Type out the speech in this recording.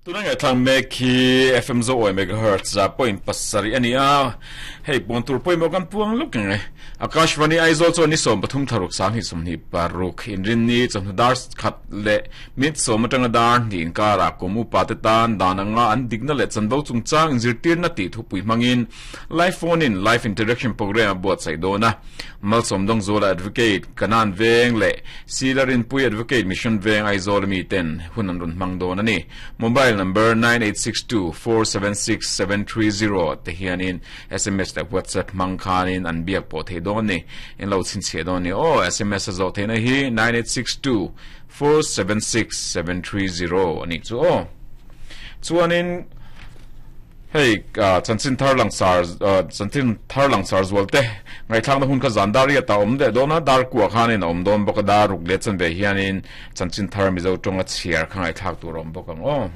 Tuna ngaihthlak mek hi FM Zo Awi Megahertz 0.7 a ni a, hei puan tur pawimawh kan puang lawk ang e. Akashvani Aizawl chuan ni 13 thlaruk 2026 inrinni chawhnu dar khat leh minute sawm atanga dar hnih inkarah kum upa te tan dan anga an dikna leh chanvo chungchang inzirtirna tih thupui hmangin Live Phone in Live Interaction Programme a buatsaih dawn a. Malsawm Dawngzuala Advocate, Kanan Veng leh Sila Rinpui Advocate Mission Veng Aizawl ami ten hun an rawn hmang dawn a ni. Mobile number 9862476730 te hianin sms leh WhatsApp hmang khanin an biak pawh thei dawn a ni. In lo chhinchhiah dawn a ni aw. Sms a zawh theihna hi 9862476730 a nih chu aw. Chuanin. Hei chanchin thar langsar chanchin thar langsar zual te ngaihthlakna hun kha zan dar riat ah a awm leh dawn a, dar kuah khanin a awm dawn bawk a, dar ruk leh chanve hianin chanchin thar Mizo tawnga chhiar kha ngaihthlak tur a awm bawk ang aw.